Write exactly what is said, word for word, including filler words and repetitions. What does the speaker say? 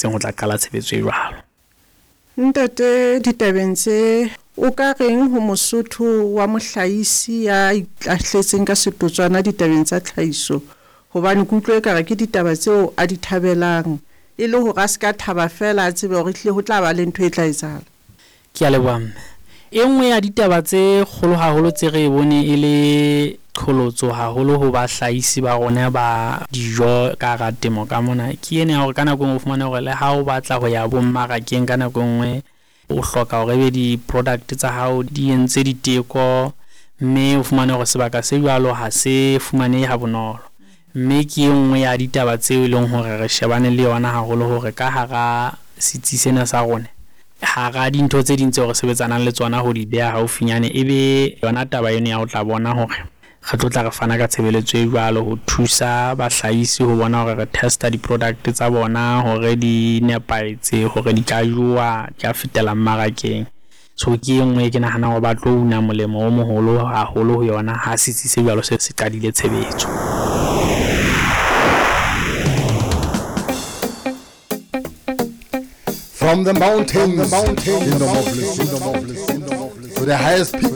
Ho tla qala tshebetso e jwalo. Ntate, ditabeng tse o ka reng ho Mosotho wa mohlahisi ya itahletseng ka setotswana ditabeng tsa tlhahiso, hobane ke utlwe ekare ke ditaba tseo a di thabelang, e le hore a se ka thaba fela, a tsebe hore ehlile ho tla ba le ntho e tla etsahala? Ke a leboha, mme. E nngwe ya ditaba tse kgolo haholo tse re e bone e le qholotso haholo ho bahlahisi ba rona ba dijo ka hara temo ka mona, ke ena ya hore ka nako e nngwe o fumane hore le ha o batla ho ya bo mmarakeng, ka nako e nngwe o hloka hore ebe di-product tsa hao di entse diteko, mme o fumane hore sebaka se jwalo ha se fumanehe ha bonolo. Mme ke e nngwe ya ditaba tseo e leng hore re shebane le yona haholo, hore ka hara setsi sena sa rona, hara dintho tse ding tseo re sebetsanang le tsona ho di beha haufinyane, e be yona taba eno ya ho tla bona hore re tlo tla re fana ka tshebeletso e jwalo ho thusa bahlahisi ho bona hore re testa di-product tsa bona hore di nepahetse, hore di ka jowa, di ka fetela mmarakeng. So ke e nngwe e ke nahanang hore ba tlo una molemo o moholo haholo ho yona ha setsi se jwalo se se qadile tshebetso. From the mountains, in the to the highest peak.